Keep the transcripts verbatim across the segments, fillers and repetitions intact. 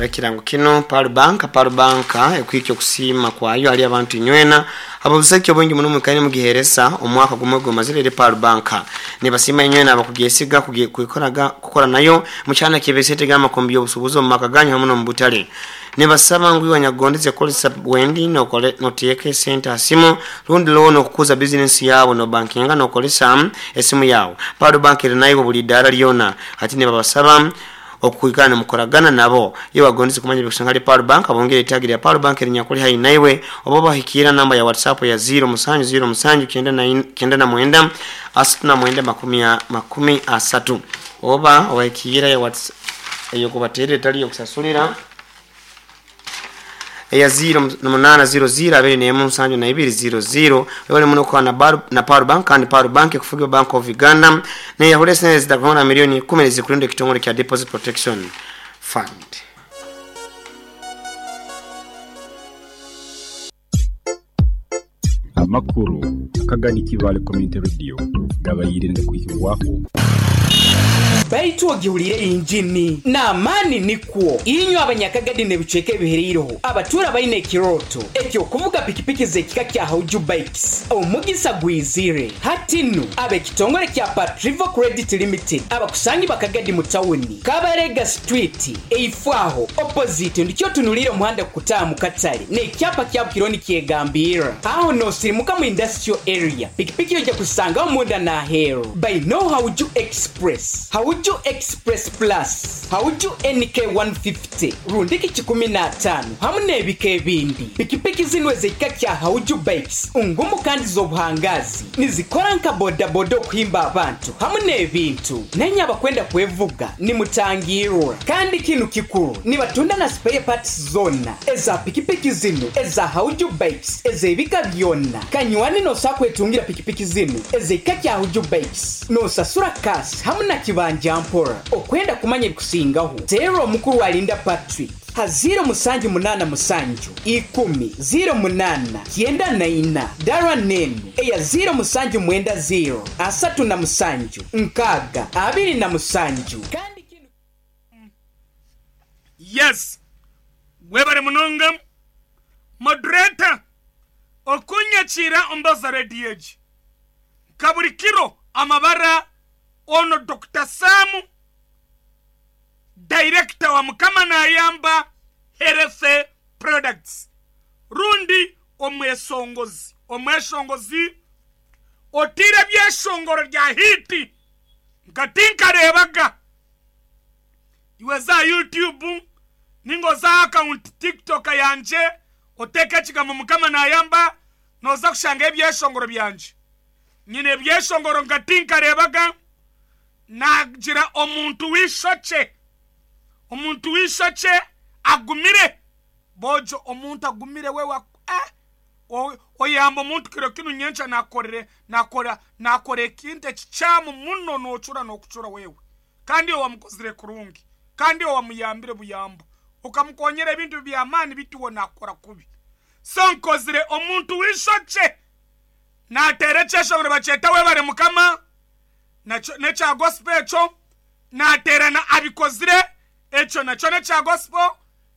Ekirango kino Pearl Bank. Pearl Bank ekwikya okusiima kwayo ali abantu inywena abobuseki obwingi muno mwikaine mugiheresa omwaka gumwe gumazire eri Pearl Bank. Nibasiima inywena abakugyesiga kukoraga kukora nayo mukyana kibesete gama kombi obusubuzi omu maka ganyu hamwe n'omu butale. Nibasaba ngu iwe nyagondeze kukozesa wendi nokole noteeka esente asimu rundi loan okukuza bizinesi yawe no bankinga nokolesa esimu yawe. Pearl Bank eri naiwe buli idara lyona ati nibabasaba okuikana nimukoragana nabo. Iyo wagondeze kumanya bikusanga hali Pearl Bank, abongere itagi lya Pearl Bank erinyakuli haihi naiwe, oba bahikira namba ya WhatsApp ya ziro musanju ziro musanju kyenda na kyenda na mwenda asatu na mwenda makumi makumi asatu, oba obahikira ya WhatsApp eyo kubaterera etali yokusasulira eya ziro munana ziro ziro abiri n'emu nsanju na ibiri ziro ziro. Webale muno kwa na bar, na Pearl Bank. Kandi Pearl Bank ekufugibwa Bank of Uganda neyahura esente zitakubona milioni kumi zikulinda ekitongole kya Deposit Protection Fund. Amakuru Akagadi Kivale Community Radio gabayire kuhibwaho. Baitu ogihulire injini n'amaani nikwo inywe abanyakagadi n'ebicweka ebihereireho abatuura baine ekiroto ekyokuvuga pikipiki z'ekika kya Hauju Bikes, omugisa gwizire hati nu. Ab'ekitongole kya Patrivo Credit Limited abakusangi bakagadi mu tawuni Kabarega Street, eifwaho opposite ndikyo tunulire omuhanda kukutaaha mu katale n'ekyapa kya Bukironi kyegambirra aho nosirimuka mu industrial area. Pikipiki ojja kusangaho munda n'aheeru baino Hauju Express, Hauju Express Plus, Hauju N K one fifty rundiki kikumi n'ataano hamu n'ebika ebindi. Pikipiki zino ez'ekika kya Hauju Bikes ngumu kandi z'obuhangazi, nizikora nka bodaboda okuhimba abantu hamu n'ebintu. Nenye abakwenda kwevuga nimutangirwa. Kandi kinu kikuru, nibatunda na spare parts zona eza pikipiki zino eza Hauju Bikes ez'ebika byonna. Kanywani, nosa kwetungira pikipiki zino ez'ekika kya Hauju Bikes nosasura cash hamu na kibanja mpora. Okwenda kumanya ebikusingaho, teera omukuru Alinda Patrick ha ziro musanju munana musanju ikumi ziro munana kyenda na ina, dara nenu eya ziro musanju mwenda ziro asatu na musanju nkaaga abiri na musanju. Kandi kinu Yes, webale munonga moderator okunyakira ombaza rediyo egi nka buri kiro. Amabara ono Doctor Samu, director wa Mukama Nayamba Health Products, rundi omwesongozi omweshongozi otire byeshongoro rya hit nka tinkarebaga. Iwe za YouTube ningo za account TikTok yanje, oteke ekigambo Mukama Nayamba, noza kushanga ebyeshongoro byanje. Nyine ebyeshongoro nka tinkarebaga. Nagira omuntu w'ishoke, omuntu w'ishoke agumire bojo, omuntu agumire we wa eh, o- oyamba omuntu kiro kinu, nyencha nakorere nakora nakora ekintu ekikyamu muno, nocura nokucura wewe, kandi owamukozire kurungi, kandi owamuyambire buyambo, ukamukonyera ebintu byamaani, bituwo nakora kubi. So nkozire omuntu w'ishoke nateera ekyeshongoro bakyeta Webare Mukama, nakyo nekya gospel. Ekyo nateera na abikozire, ekyo nakyo nekya gospel.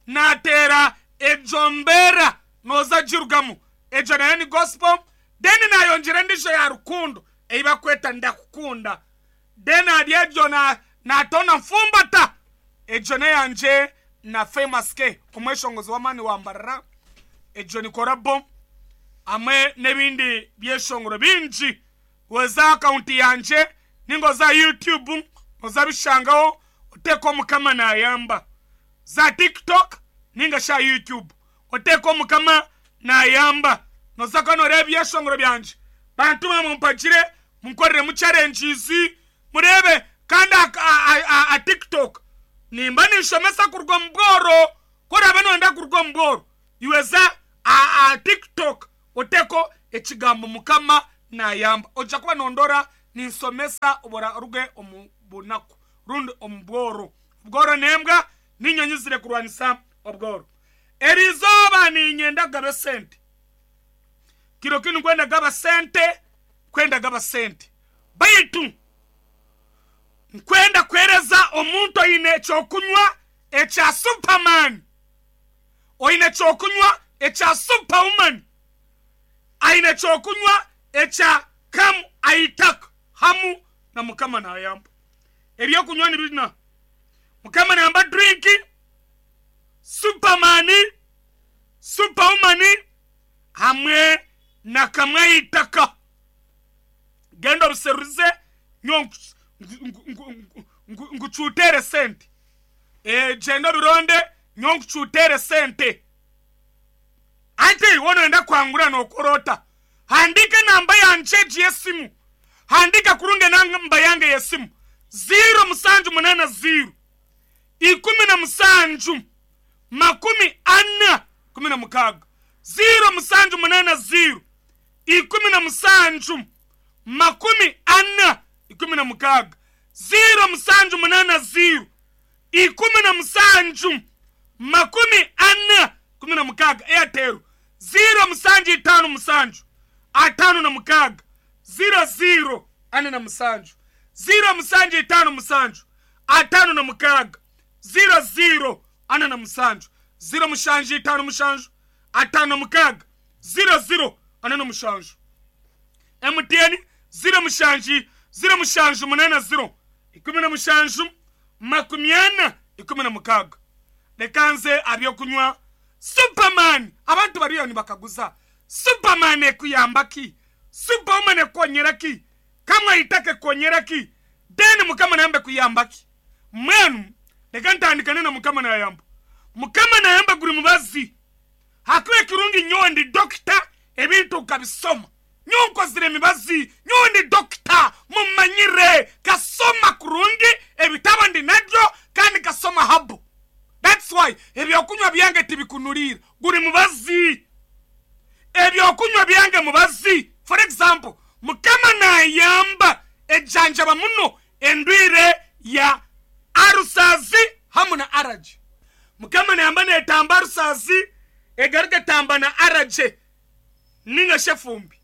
Nateera egyo mbeera noza girugamu, egyo nayo ni gospel. Then nayongyera endijo ya rukundo ei bakweta Ndakukunda. Then hari egyo na- natona nfumbata, egyo neyangye na Famous K, omweshongozi w'amaani wambarara. Egyo ni collabo hamwe n'ebindi byeshongoro bingi. Weza account yanje ningo za YouTube oza bishangaho, oteeka Omukama Nayamba. Za TikTok ninga sha YouTube, oteeka Omukama Nayamba, noza kuba noreeba ebyeshongoro byanje. Bantu bamwe mumpagire, munkoreremu challenges murebe. Kandi a, a, a, a TikTok nimba ninshomesa kuruga omu bworo. Korabe noyenda kuruga omu bworo, iweza a, a TikTok oteko ekigambo Mukama Nayamba, ojja kuba nondora ninsomesa obora oruge omu bunaku rundi omu bworo. Obworo nembwa ninyonyi zire kurwanisa obworo. Erizooba ninyenda kugaba esente. Kiro kinu nkwenda gaba sente, kwenda gaba sente, baitu nkwenda kwereza omuntu oine ekyokunywa. ekya Superman, oine ekyokunywa ekya Superwoman, aine ekyokunywa ekya Kamu Aitaka hamu na Mukama Nayamba. Ebyokunywa ni bina: Mukama Nayamba drink, Superman, Superwoman hamwe na Kamwe Aitaka. Genda obiseruze nyo nkucutere sente. E, genda obironde nyo nkucutere sente. Ante wonoenda kwangura nokorota, handika namba yanje yesimu, handika kurunge namba yange yesimu ziro musanju munana ziro ikumi na musanju makumi ana kumi na mukaga ziro musanju munana ziro ikumi na musanju makumi ana ikumi na mukaga ziro musanju munana ziro ikumi na musanju makumi ana kumi na mukaga. Airtel ziro musanju itano musanju atano na mukaga ziro ziro ane na musanju ziro musanju itano musanju atano na mukaga ziro ziro ane na musanju ziro mushanju itano mushanju atano na mukaga ziro ziro ane na mushanju. M T N ziro mushanju ziro mushanju munana ziro ikumi na mushanju makumi ana ikumi na mukaga. Lekanze abyokunywa Superman. Abantu bariyo nibakaguza Superman ekuyamba ki, Superwoman ekonyera ki, Kamwe Aitaka ekonyera ki, then Mukama Nayamba kuyamba ki. Mwenu leka ntandikane na Mukama Nayamba. Mukama Nayamba guri mubazi hakuwe kirungi nyowe ndi dokita, ebintu ukabisoma nyonkozire mibazi nyowe ndi dokita mumanyire kasoma kurungi ebitabo ndi nabyo kandi kasoma habu. That's why ebyokunywa byange tibikunulira guri mubazi. Ebyokunywa byange mubazi. For example, Mukama Nayamba ejanjaba muno endwire ya arusazi hamu na araje. Mukama Nayamba netamba arusazi egaruke tamba na araje ninga shefumbi.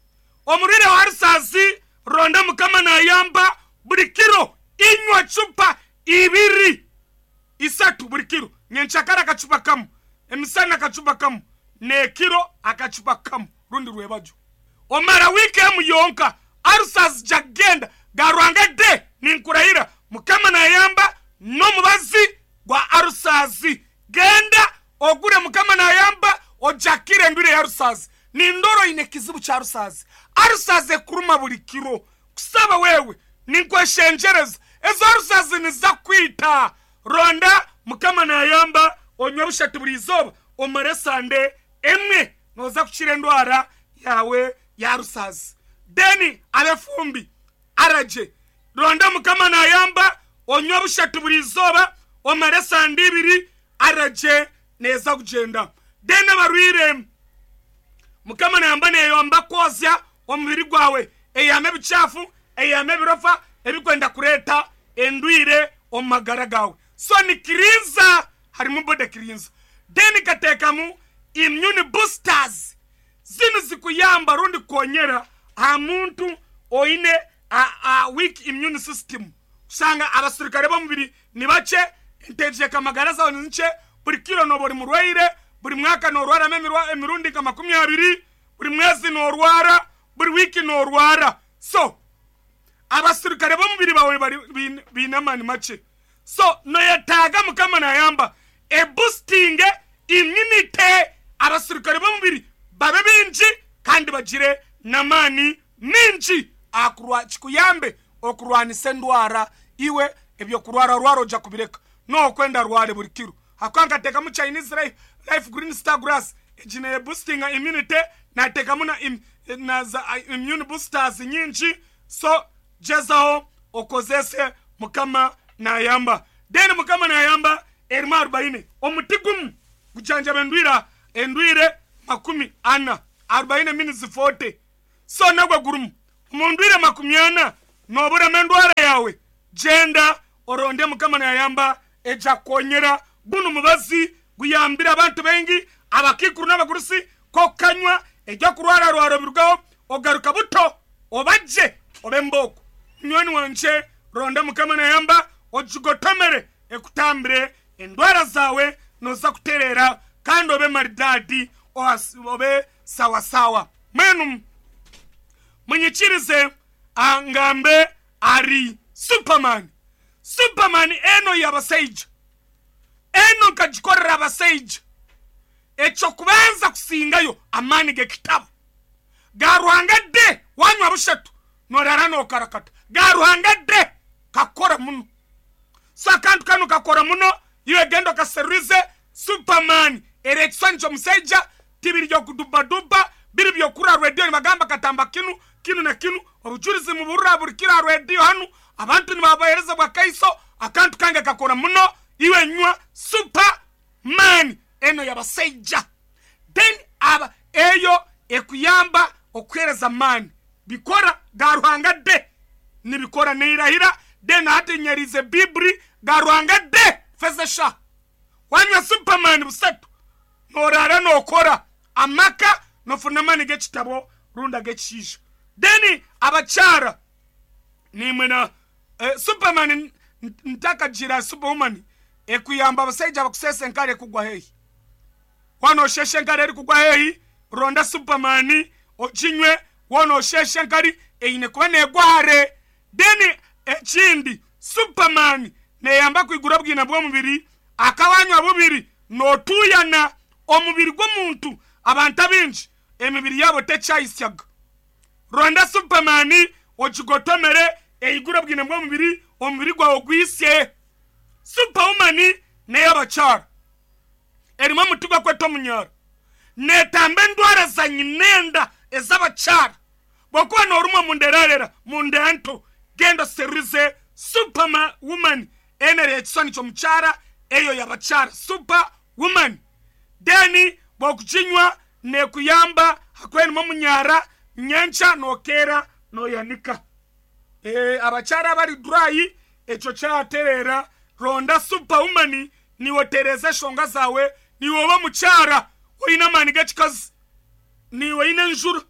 Omurire wa arusazi ronda Mukama Nayamba buli kiro inywa chupa ibiri isatu buli kiro. Nyenchakara akachupa kamu, emisana akachupa kamu, nekiro akachupa kamu rundi rwebajo. Omara wiki emu yonka arusazi jagenda garwanga de ninkurahira Mukama Nayamba n'omubazi gwa arusazi. Genda ogure Mukama Nayamba ojakire endwire ya arusazi. Nindoro ine kizibu cha arusazi. Arusazi ekuruma buli kiro. Kusaba wewe ninkweshenjereza ezo arusazi nizakwita. Ronda Mukama Nayamba onywe bushatu buli izooba omare sande emwe noza kukira endwara yawe ya rusazi. Deni abefumbi araje ronda Mukama Nayamba onywe bushatu buli izooba omare sande ibiri araje neza kugenda. Deni abarwire Mukama Nayamba neyamba kwozya omubiri gwawe eyame ebichafu eyame ebirofa ebikwenda kureta endwire omu magara gawe. So ni kirinza harimu bode kirinza. Deni katekamu immune boosters zinu zikuyamba rundi konyera ha muntu oine a, a weak immune system. Usanga abasirikare b'omubiri ni bace entejeka magara zawe ni nce buli kiro no buri murwaire buri mwaka norwara emirwa emirundi nka makumi abiri buri mwezi norwara buri wiki norwara. So abasirikare b'omubiri bawe bari binamani mace. So noyetaga Mukama Nayamba e boosting immunity abasirikare b'omubiri babe bingi kandi bagire namani mingi akurwa kikuyambe okurwanisa endwara iwe ebyokurwara rwaro oja kubireka nokwenda rware buri kiro. Hakangatekamu Chinese life, life green star grass ejine boosting immunity natekamu na, im, na za immune boosters nyingi. So jezaho okozese Mukama Nayamba. Then Mukama Nayamba erimu arobaini omuti gumu gujanjaba endwira endwire makumi ana arobaini minutes forty. So nagwe gurumu omundwire makumi ana noburema endwara yawe genda oronde Mukama Nayamba eja konyera guno mubazi guyambira abantu bengi abakikuru n'abagurusi kokanywa ejya kurwara rwaro birugaho ogaruka buto obaje obe mboko. Nywani wanje ronda Mukama Nayamba ojugotomere ekutambire Endwara zawe noza kuterera kandi obe maridadi obe sawasawa. Mwenu munyikirize angambe ari Superman. Superman eno y'abasaija, eno nkagikorera abasaija. Ekyo kubanza kusingayo amaani g'ekitabo ga Ruhanga de wanywa bushatu norara nokarakata ga Ruhanga de kakora muno. So akantu kano kakora muno, iwe genda okaseruize Superman ere ekiswani ky'omusaija tibiri byokudubaduba biri byokura rwediyo nibagamba katamba kinu kinu na kinu obujurizi muburura buri kira rwediyo hanu abantu nibabahereza bwa kaiso. Akantu kange kakora muno, iwe nywa Superman eno y'abasaija. Then aba eyo ekuyamba okuhereza mani bikora ga Ruhanga de nibikora neirahira. Then hati nyerize bibri ga Ruhanga de fezesha wanywa Superman busatu norara nokora amaka nofuna mani g'ekitabo runda g'ekishiisha. Then abakyara nimwe na eh, Superman ntakagira Superwoman ekuyamba abasaija bakusesa enkare ekugwa hehi. Wano osheshe enkare erikugwa hehi, ronda Superman okinywe. Wano osheshe enkari eine kuba negwa hare. Then ekindi Superman neyamba kwigura bwina bw'omubiri akawanywa bubiri notuyana omubiri gw'omuntu. Abantu abingi emibiri yabo tekyayisyaga. Ronda Superman okigotomere eigura bwina bw'omubiri, omubiri gwawe gwisye. Superwoman ney'abakyara erimu omuti gwakweta omunyara netamba endwara za nyinenda ez'abakyara. Bwokuba norumwa munderarera munda nto, genda oserize Superwoman enere ekiswani ky'omukyara eyo y'abakyara Superwoman. Then bwokukinywa nekuyamba hakwerimu omunyara nyencha nokera noyanika. E, abakyara abari dry ekyo kyaterera. Ronda Superwoman niwotereza eshonga zawe, niwe oba mukyara oine amaani g'ekikazi, niwe oine enjura,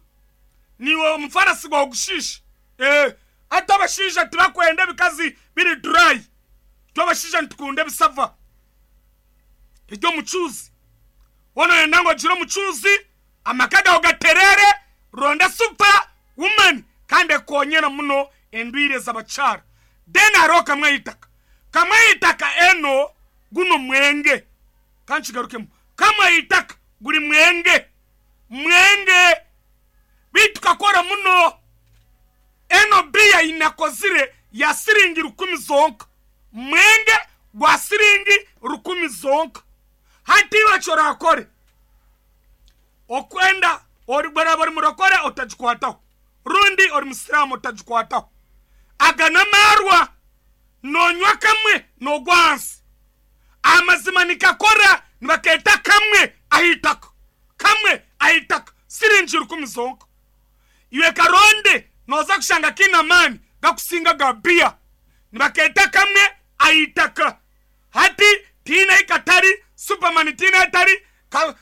niwe omufarasi gwawe gushiisha. E, ate abashaija tibakwenda ebikazi biri dry, twe abashaija nitukunda ebisava eby'omucuuzi. Woona oyenda ngu ogire omucuuzi amaka gawe gaterere, ronda Superwoman kandi ekonyera muno endwire z'abakyara. Then hariho kamwe eitaka kamwe eitaka eno guno mwenge kankigarukemu kamwe eitaka guri mwenge mwenge bitu kakora muno. Eno biya inakozire ya siringi rukumi zonka, mwenge gwa siringi rukumi zonka. Hati iwe kyorakore okwenda ori bari murokore otagikwataho, rundi ori musiramu otagikwataho. Aga n'amarwa nonywa kamwe nogwa hansi. Amazima nikakora nibaketa kamwe ahitaka kamwe ahitaka siringi rukumi zonka. Iwe karonde noza kushanga kina mani gakusinga ga bia nibaketa kamwe ahitaka. Hati tina ikatari Superman tina etari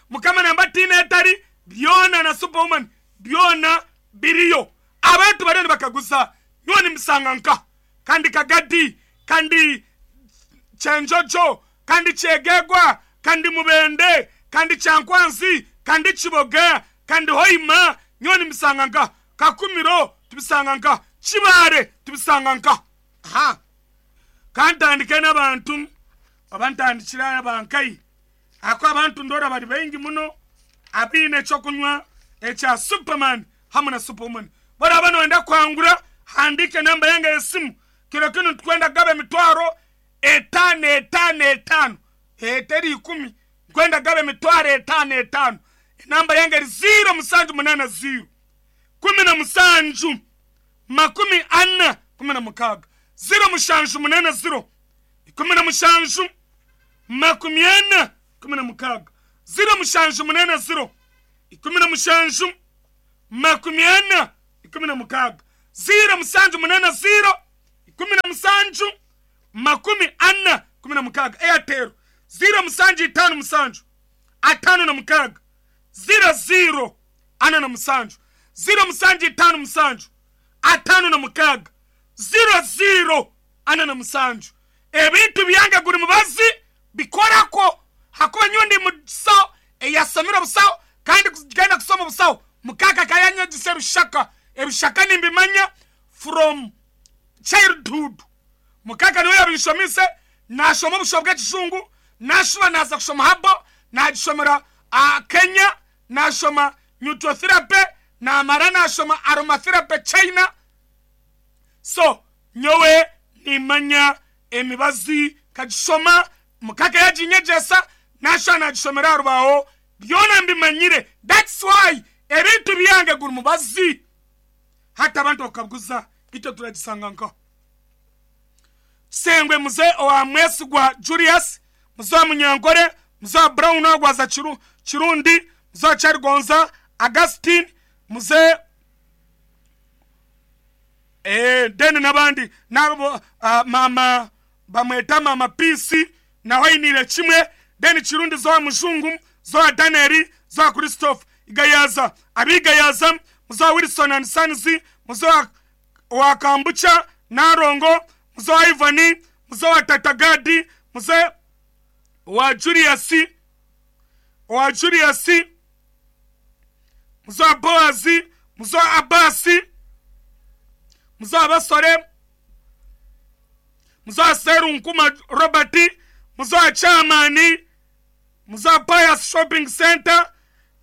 mukama namba tina etari byona na Superwoman byona biriyo. Abantu bariyo nibakaguza nyowe nimusanga nka kandi Kagadi kandi Chenjojo kandi Kyegegwa kandi Mubende kandi Kyankwanzi kandi Kiboga kandi Hoima nyowe nimusanga nka Kakumiro tubisanga nka Kibare tubisanga nka. Ha kantandike n'abantu abantandikira abankai ako abantu ndora bari baingi muno abiine ekyokunywa ekya Superman hamwe na Superwoman. Bora bano wenda kwangura handike namba yange y'esimu. Kiro kinu tukwenda gaba emitwaro etano etano etano eteri ikumi nkwenda gaba emitwaro etano etano. Enamba yange eri ziro musanju munana ziro kumi na musanju makumi ana kumi na mukaga ziro mushanju munana ziro ikumi na mushanju makumi ana kumi na mukaga ziro mushanju munana ziro ikumi na mushanju makumi ana ikumi na mukaga ziro musanju munana ziro ikumi na musanju makumi ana kumi na mukaga. Airtel ziro musanju itano musanju atano na mukaga ziro ziro ana na musanju ziro musanju itano musanju atano na mukaga ziro ziro ana na musanju. Ebintu byange guri mubazi Bikorako hakuba nyowe ndi musaho eyasomire obusaho kandi kugenda kusoma obusaho mukaka kayanyegisa ebishaka. Ebishaka nimbimanya from childhood. Mukaka niwe yabishomise, nashoma obusho bw'ekijungu, nashuba naza kushoma habo, nagishomera uh, Kenya, nashoma nutrotherapy, namara nashoma aromatherapy China. So nyowe nimanya emibazi kagishoma mukaka yaginyegesa, nashuba nagishomera arubaho, byona mbimanyire. That's why ebintu byange guri mubazi hata abantu bakabuguza icyo turagisanga nkaho. Sengwe muze owa Mwesigwa Julius, muze wa Munyankore, muze wa Brown agwaza Chiru, Chirundi, muze wa Charigonza Augustine, muze eh deni n'abandi nabo uh, mama bamweta mama Peace naho inire kimwe deni Chirundi zo Mujungu, zo wa Daniel, zo wa Christophe Igayaza, abigayaza muze wa Wilson and Sons, muze wa, wa Kambucha Narongo, muze wa Ivani, muze wa Tatagadi, muze wa Julius, wa Julius, muze wa Boazi, muze wa Abasi, muze wa Basore, muze wa Serunkuma Robert, muze wa Chamani, muze wa Pius Shopping Center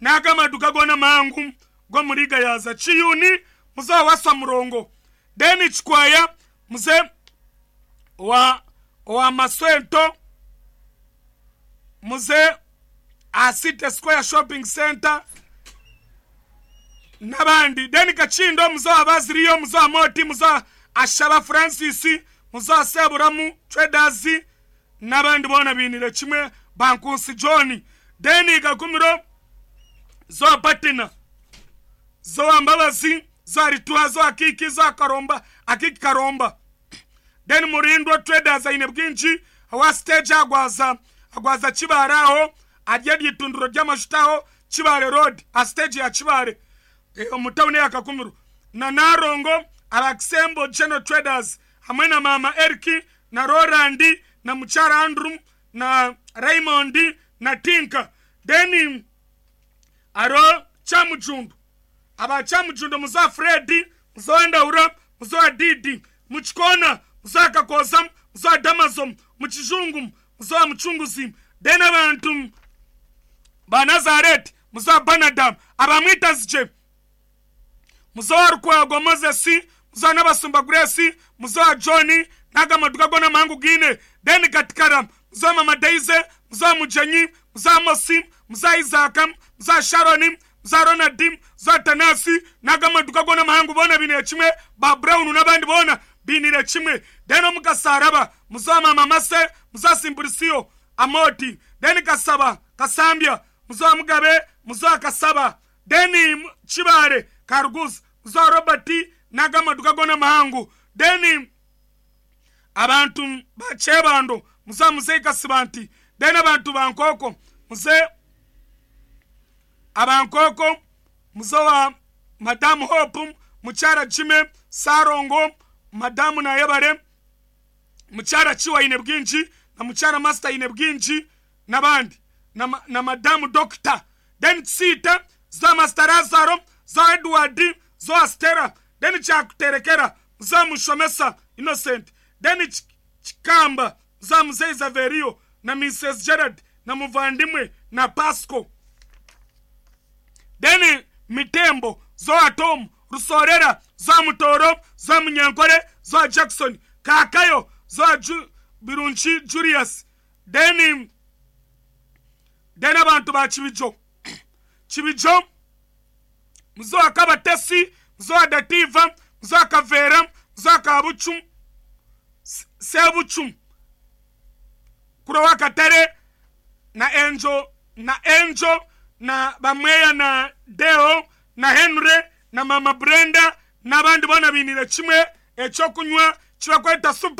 n'agamaduka gona mangu go muri Gayaza Chiyuni, muze wa Waswa Murongo, Deni Chikwaya, muze wa wa Maswento, muze Asite Square Shopping Center n'abandi. Deni Kachindo, muze wa Baziriyo, muze wa Moti, muze wa Ashaba Francis, muze wa Seburamu Traders n'abandi bona binire kimwe Bankusi John. Deni Gakumiro, zo wa Patina, zo wa Mbabazi, zo wa Rituha, zo wa Kiki, zo wa Karomba, Akiki Karomba. Then Murindwa Traders aine bwinji awa stage agwaza agwaza Kibare aho arye ryitunduro ry'amashutaho Kibare Road a stage ya Kibare e, omutawuni ya Kakumiro na Narongo Abakisembo General Traders hamwe na mama Eriki na Roland na Muchara Andrew na Raymond na Tinka. Then aro Chamujundu aba Chamujundu muza Freddy muza Ndaura muza Didi muchikona muza Kakoza muza Damazom muchizungu muza Muchunguzi. Then abantu ba Nazareth muza Banadam abamwita zije muza Rukwago Moses muza Nabasumba Grace muza Johnny n'agamaduka gona mangu gine. Then Katikara muza Mama Daisy muza Mujenyi muza Mosi muza Isaac muza Sharoni muza Ronald muza Tanasi n'agamaduka gona mahangu bona binire kimwe ba Brown n'abandi bona binire kimwe. Then omukasaraba muza Mama Mase muza Simbulisio Amoti. Then Kasaba Kasambia muza Mugabe muza Kasaba. Then Chibare Kargus muza Robert n'agamaduka gona mahangu. Then abantu bachebando muza Muzei Kasibanti. Then abantu bankoko muze abankoko muze wa Madamu Hope Muchara Jime Sarongo Madamu Nayebare Muchara Chiwa ine bwinji na Muchara Master ine bwinji n'abandi na, na Madamu Doctor. Then Sita za Master Lazaro za Edward za Stella. Then Chakuterekera za Mushomesa Innocent. Then Chikamba za Mzee Zaverio na Missus Gerard na Muvandimwe na Pasco. Then Mitembo zo Tom Rusorera zo Mutoro zo Munyankore zo Jackson Kakayo zo Ju, Birunchi Julius. Then then abantu ba Chibijo Chibijo muzo Akabatesi muzo Dativa muzo Kavera muzo Kabuchu Sebuchu Kurowa Katere na Enjo na Enjo na Bamweya na Deo na Henry na Mama Brenda n'abandi bona binire kimwe ekyokunywa kibakweta super.